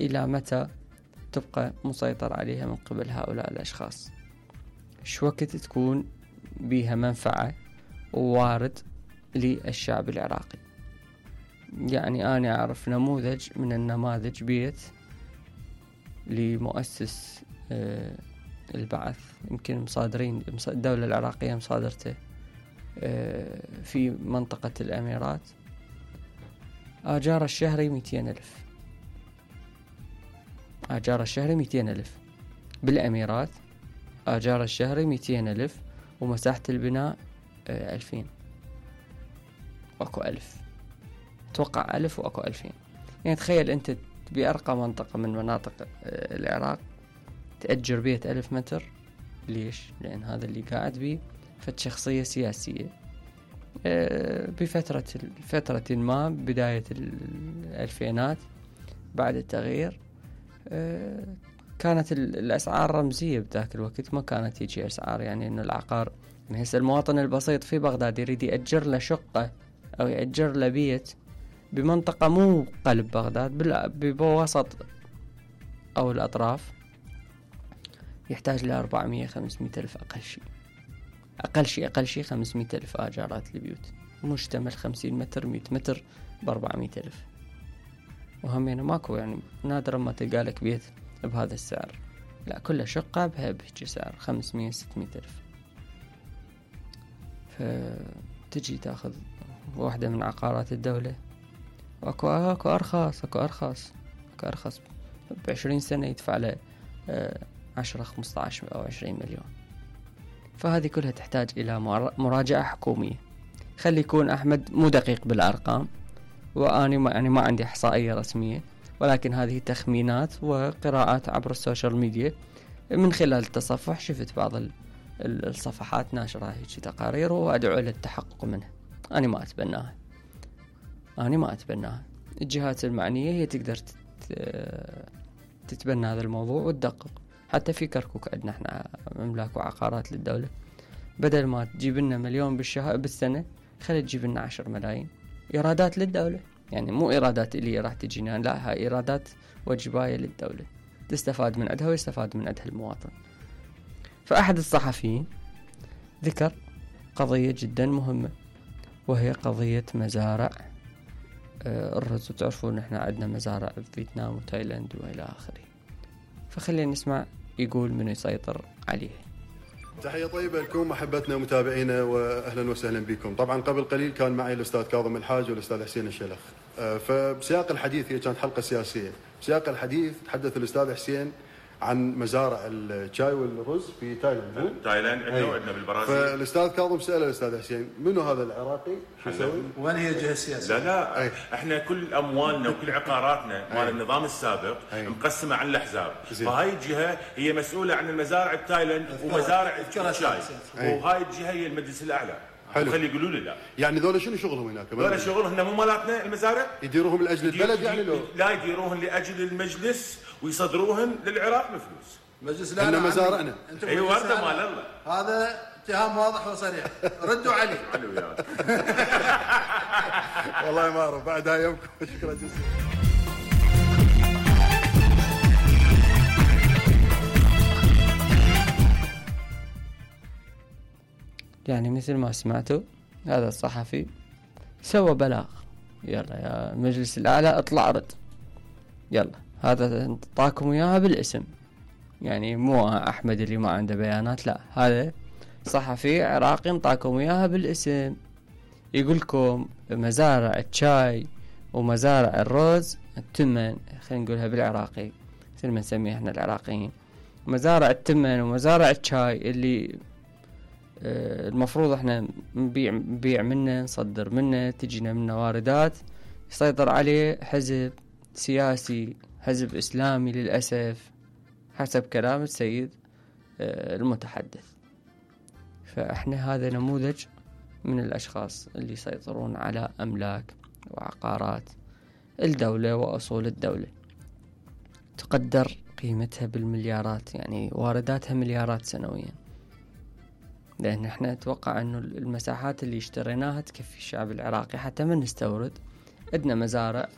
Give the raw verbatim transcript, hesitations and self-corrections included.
إلى متى تبقى مسيطر عليها من قبل هؤلاء الأشخاص؟ شو وقت تكون بيها منفعة ووارد للشعب العراقي؟ يعني أنا أعرف نموذج من النماذج بيت لمؤسس البعث، يمكن مصادرين الدولة العراقية مصادرته في منطقة الأميرات، آجار الشهري مئتين ألف، آجار الشهري مئتين ألف. بالأميرات آجار الشهري مئتين ألف، ومساحة البناء ألفين، وأكو ألف، توقع ألف وأكو ألفين. يعني تخيل أنت بأرقى منطقة من مناطق العراق تأجر بيت ألف متر. ليش؟ لأن هذا اللي قاعد بيه فد شخصية سياسية بفترة فترة ما بداية الألفينات بعد التغيير، كانت الأسعار رمزية بذاك الوقت، ما كانت تيجي أسعار يعني إنه العقار. يعني هسه المواطن البسيط في بغداد يريد يأجر له شقة أو يأجر له بيت بمنطقة مو قلب بغداد بوسط أو الأطراف، يحتاج ل أربعمية خمسمية ألف أقل شيء، أقل شيء أقل شيء خمسمية ألف آجارات البيوت، مشتمل خمسين متر مئة متر بأربعمية ألف. وهم يعني ماكو، يعني نادرا ما تلقى لك بيت بهذا السعر، لا كل شقة بها بهجي سعر خمسمية ستمية ألف. فتجي تاخذ واحدة من عقارات الدولة، وأكو أكو أرخص أكو أرخص أكو أرخص بعشرين سنة يدفع له عشرة خمسة عشر أو عشرين مليون. فهذه كلها تحتاج إلى مراجعة حكومية. خلي يكون أحمد مو دقيق بالأرقام، وأنا ما يعني ما عندي إحصائية رسمية، ولكن هذه تخمينات وقراءات عبر السوشيال ميديا. من خلال التصفح شفت بعض الصفحات ناشرة هيك تقارير، وأدعو للتحقق منها. أنا ما أتبناها أنا ما أتبناها الجهات المعنية هي تقدر تتبنى هذا الموضوع وتدقق. حتى في كركوك عندنا احنا مملاك وعقارات للدولة، بدل ما تجيب لنا مليون بالشهر بالسنة خلي تجيب لنا عشر ملايين إيرادات للدولة. يعني مو إيرادات اللي راح تجينا، لا، هاي إيرادات وجباية للدولة تستفاد من عندها ويستفاد من عندها المواطن. فأحد الصحفيين ذكر قضية جدا مهمة، وهي قضية مزارع الرز. وتعرفون احنا عندنا مزارع في فيتنام وتايلاند وإلى آخره. فخلينا نسمع يقول من يسيطر عليه. تحية طيبة لكم أحبتنا ومتابعينا، وأهلا وسهلا بكم. طبعا قبل قليل كان معي الأستاذ كاظم الحاج والأستاذ حسين الشلخ. فبسياق الحديث، هي كانت حلقة سياسية، بسياق الحديث تحدث الأستاذ حسين عن مزارع الشاي والرز في تايلاند. تايلاند عندنا وعندنا بالبرازيل. فالاستاذ كاظم سأل الاستاذ حسين منو هذا العراقي؟ شو يسوي؟ وين هي الجهه السياسيه؟ لا لا أي. احنا كل اموالنا وكل عقاراتنا مال النظام السابق أي. مقسمه على الاحزاب. فهاي الجهه هي مسؤوله عن المزارع التايلاند ومزارع الشاي، وهاي الجهه هي المجلس الاعلى. حلو. خلي يقولوا لي لا. يعني ذولا شنو شغلهم هناك؟ ذولا شغلهم هن مو مالاتنا المزارع؟ يديروهم لاجل البلد يعني لو؟ لا، يديروهم لاجل المجلس ويصدروهم للعراق بفلوس. مجلس لا، احنا مزارعنا. اي ورده مال الله. هذا اتهام واضح وصريح، ردوا عليه. حلو يا والله ما اعرف بعد هاي يومكم. شكرا جزيلا. يعني مثل ما سمعتوا هذا الصحفي سوى بلاغ، يلا يا مجلس الأعلى اطلع رد، يلا هذا انطاكم اياها بالاسم. يعني مو أحمد اللي ما عنده بيانات، لا، هذا صحفي عراقي انطاكم اياها بالاسم. يقولكم مزارع الشاي ومزارع الرز التمن، خلينا نقولها بالعراقي مثل ما نسميه احنا العراقيين، مزارع التمن ومزارع الشاي اللي المفروض احنا نبيع نبيع منه، نصدر منه، تجينا منه واردات، يسيطر عليه حزب سياسي، حزب إسلامي للأسف حسب كلام السيد المتحدث. فاحنا هذا نموذج من الأشخاص اللي يسيطرون على أملاك وعقارات الدولة وأصول الدولة، تقدر قيمتها بالمليارات، يعني وارداتها مليارات سنويا. لأن احنا نتوقع أنه المساحات اللي اشتريناها تكفي الشعب العراقي حتى من نستورد. عندنا مزارع